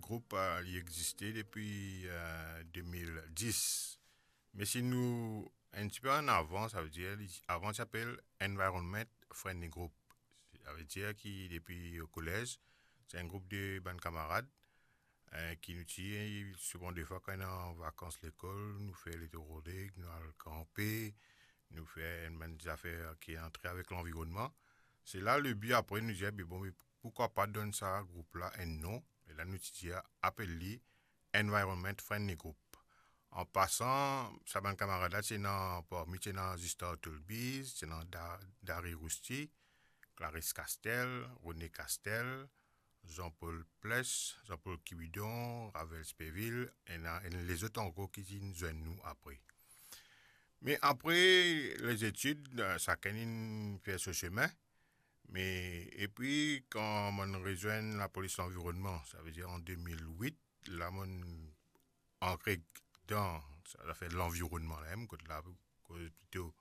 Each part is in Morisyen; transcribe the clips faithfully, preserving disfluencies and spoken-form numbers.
Group, eh, li existe depi, eh, de mil dis. Me si nou enn tipe an avan, savedir, li, avan ti apel Environment Friendly Group. Savedir ki depi o kolez, se enn group de bann kamarad, eh, ki nou ti, souvan defwa kan ena vakans lekol, nou fer letou Rodrig, nou al kanpe, nou fer enn bann zafer ki antre avek lanvironnman. Se la le bi apre nou dir, "Be bon, me poukwa pa donn sa group la enn non?" E la nou ti dir, "Apel li Environment Friendly Group." An pasan, sa bann kamarad la, ti ena, parmi ti ena Justin Tolbiz, ti ena Da-, Dari Rousti, Clarisse Castel, René Castel, Jean-Paul Pless, Jean-Paul Kibidon, Ravel Speville, ena, ena lezot ankor ki ti zwenn nou apre. Me apre lezetid, eh, sakenn inn fer so semin. Me, epi, kan mo'nn rezwenn lapolis lanvironnman, savedir an de mil wit, la mo'nn antre dan sa zafer lanvironnman la mem, kot la, koz plito,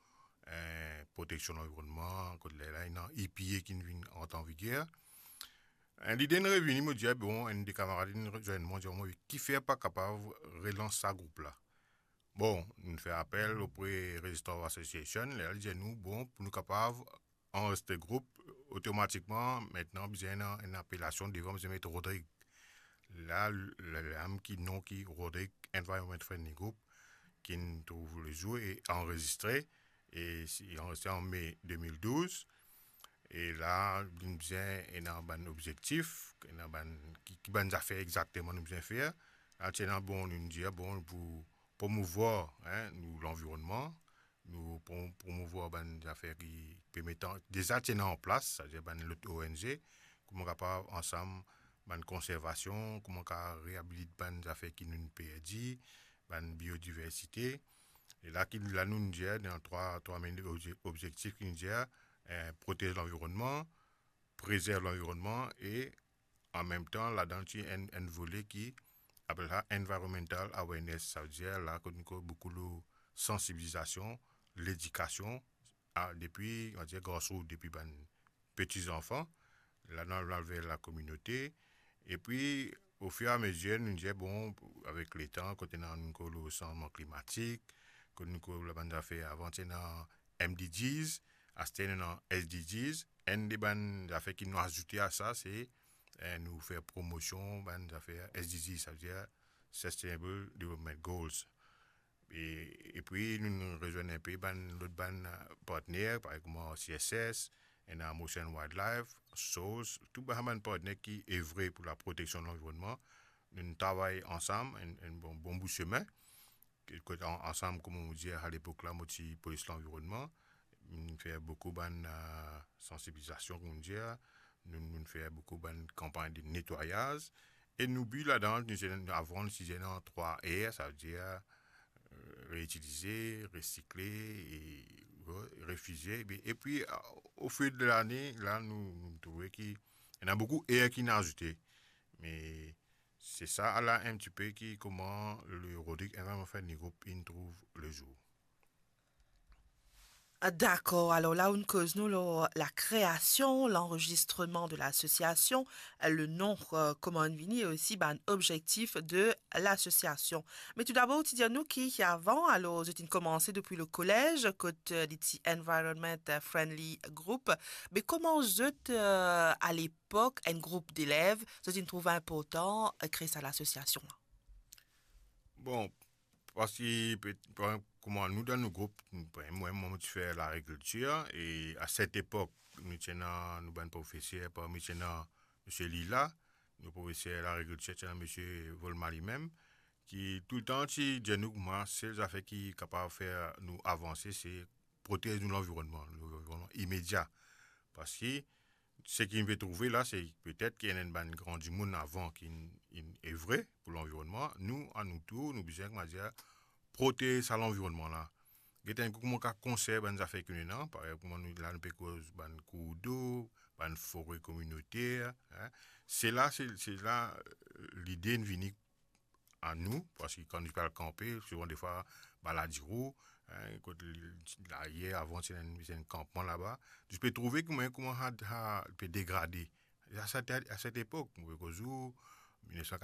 eh, proteksion lanvironnman, kot la, la ena EPA ki'nn vinn ant an viger. Eh, lide inn revini, mo dir, bon, enn de kamarad inn rezwenn mwa, dir mwa, "Kifer pa kapav relans sa group la?" Bon, nou fer apel opre Resistance Association, la li dir nou, bon, pou nou kapav anrezistre group, otomatikman, mintnan, bizin ena enn apelasion devan, bizin met Rodrig. La, le, le, la mem ki non ki Rodrig Environment Friendly Group, ki'nn trouv lezour e anrezistre, e si, anrezistre an me de mil douz, e la, nou bizin ena bann obzektif, ena bann, ki, ki bann zafer exakteman nou bizin fer. La, ti ena, bon, nou dir, bon, pou promouvwar, en, nou lanvironnman, nou prom-, promouvwar bann zafer ki pe met an, deza ti ena an plas, savedir bann lot ONG, kouma kapav ansam bann konservasion, kouma kapav reabilit bann zafer ki nou'nn perdi, bann biodiversite. E la ki, la nou'nn dir, dan trwa, trwa main obze-, obzektif ki nou dir, eh, protez lanvironnman, prezerv lanvironnman e an mem tan, ladan ti enn, enn vole ki apel sa environmental awareness, savedir la kot nou koz boukou lor sansibilizasion, ledikasion, a, depi, on va dir, grassroots, depi bann peti zanfan, la nou al ver lakominote, epi, ofiramezie, nou dir, bon, avek letan, kot ena nou koz lor sanzman klimatik, kot nou koz lor bann zafer, avan ti ena M D Gs, aster nou ena S D Gs, enn de bann zafer ki nou azoute a sa, se, eh, nou fer promosion bann zafer S D Gs, savedir Sustainable Development Goals. E, epi nou, nou rezwenn inpe bann lot bann, eh, partner, parey kouma C S S, ena Motion Wildlife, Source, tou bann, bann partner ki evre pou laproteksion lanvironnman. Nou travay ansam, enn, enn bon, bon bout semin. Ki, kot an-, ansam, kouma mo dir, alepok la, mo ti polis lanvironnman. Nou fer boukou bann, eh, sansibilizasion, kouma mo dir. Nou, nou fer boukou bann kanpagn de netwayaz. E nou bi ladan, nou ti, avan, nou ti dir ena trwa R, savedir, eh, reitilize, resikle e re-, refize. Epi, epi, eh, ofil de lane, la, nou, nou trouve ki ena boukou R ki'nn azoute. Me se sa la enn tipe ki kouma le Rodrig Environment Friendly Group inn trouv lezour. Ah, dakor, alor la ou'nn koz nou lor lakreasion, lanrezistreman de lasosiasion, le non, eh, kouma inn vini, e osi bann obzektif de lasosiasion. Me toudabor, ou ti dir nou ki, ki avan, alor, zot inn koumans depi le kolez, kot, eh, li ti Environment Friendly Group. Me kouma zot, eh, ale epok, enn group delev, zot inn trouv inportan, eh, kree sa lasosiasion la? Bon, parski pe-, par, kouma nou dan nou group, nou, par, mwa, mwa, mo ti fer lagrikiltir, e a set epok, nou ti ena nou bann profeser, parmi ti ena misie Lila, nou profeser lagrikiltir, ti ena misie Volma limem, ki toultan ti dir nou kouma sel zafer ki kapav fer nou avanse, se protez nou lanvironnman, lanvironnman imedia. Parski seki nou pe trouve la, se petet ki ena enn bann gran dimoun avan ki inn, inn evre pou lanvironnman. Nou, a nou tour, nou bizin, kouma dir, protez sa lanvironnman la. Get enn kou kouma kav konserv bann zafer ki nou ena, parey kouma nou, la nou pe koz bann kourdlo, bann fore kominoter, en. Se la, se, se la, eh, lide inn vini a nou, parski kan nou pe al kanpe, souvan defwa, Baladiro, en, kot li, layer avan, ti ena enn, ti ena enn kanpman laba. Nou pe trouve kouma, kouma sa, sa pe degrade. A set, a set epok, mo pe koz ou, mil nef san